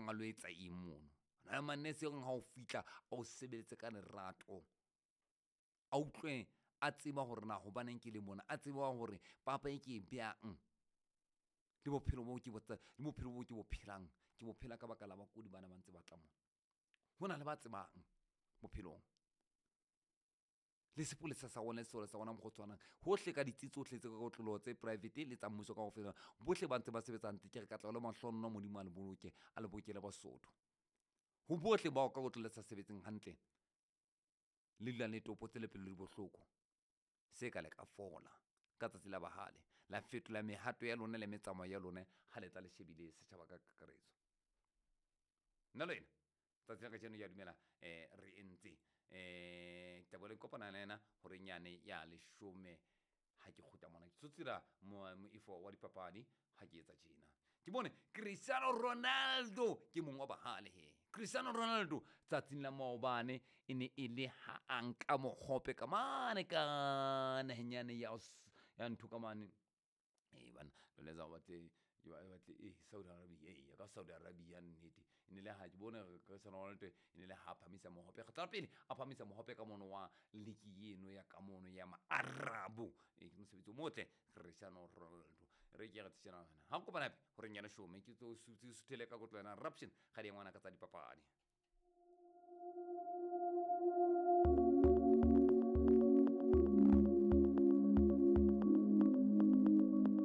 yang a lo etsa eng mono. Ho na le manese e reng ha o fihla a o sebeletse ka lerato, a utlwe a tseba hore na hobaneng ke le mona, a tseba hore papa e ke e beyang le bophelo bo ke bo le bophelo bo ke bo phelang, ke bo phela ka baka la bakudi bana ba ntse ba tla mona. Ho na le ba tsebang bophelong. Le sepolesa sa rona le sesole sa rona mokgwa o tshwanang. Hohle ka ditsi tsohle tse ka kotloloho tse private le tsa mmuso kaofela, bohle ba ntse ba sebetsa hantle. Ke re katleho le mahlohonolo Modimo a le boloke, a le bokele Basotho. Ho bohle bao ka kotloloho le sa sebetseng hantle, le dulang le topotse le pelo di bohloko, se ka le ka fola ka tsatsi la bahale, la fetola mehato ya lona le metsamao ya lona ha le tla le shebile setjhaba ka kakaretso. Nna le wena tsatsi la kajeno ya dumela re entse ke tla boela ke kopana le yena horeng yane ya leshome ha ke kgutla mona ke tsotsela moifo wa dipapadi ha ke etsa tjena. Ke bone Cristiano Ronaldo ke mong wa bahale he. Cristiano Ronaldo tsatsing la maobane e ne e le ha a nka mohope ka mane ka naheng yane ya ya ntho ka mane. Ee bana lona o batle batle e Saudi Arabia, ee ka Saudi Arabia nnete. E ne le ha ke bone Cristiano Ronaldo e ne le ha phamisa mohope kgetlo la pele a phamisa mohope ka mono wa liki eno ya ka mono ya Maarabo. Ee ke mosebetsi o motle Cristiano Ronaldo. Re ke re tshena ha kopana hape horeng ya leshome ke tlo suthele ka kotlo yona Raption ga di ngwana ka tsa dipapadi.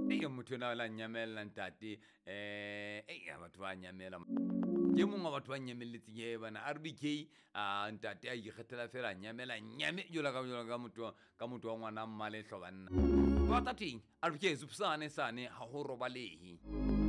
Ee motho ena o la nyamella ntate eh batho ba nyamela. Ke mong wa batho ba nyamelletseng he bana RBK a ntate a ikgethela fela nyamela nyame jwalo ka jwalo ka motho ka motho wa ngwana mmalehlo banna. Ba tla teng RBK supsane sane ha ho robalehe.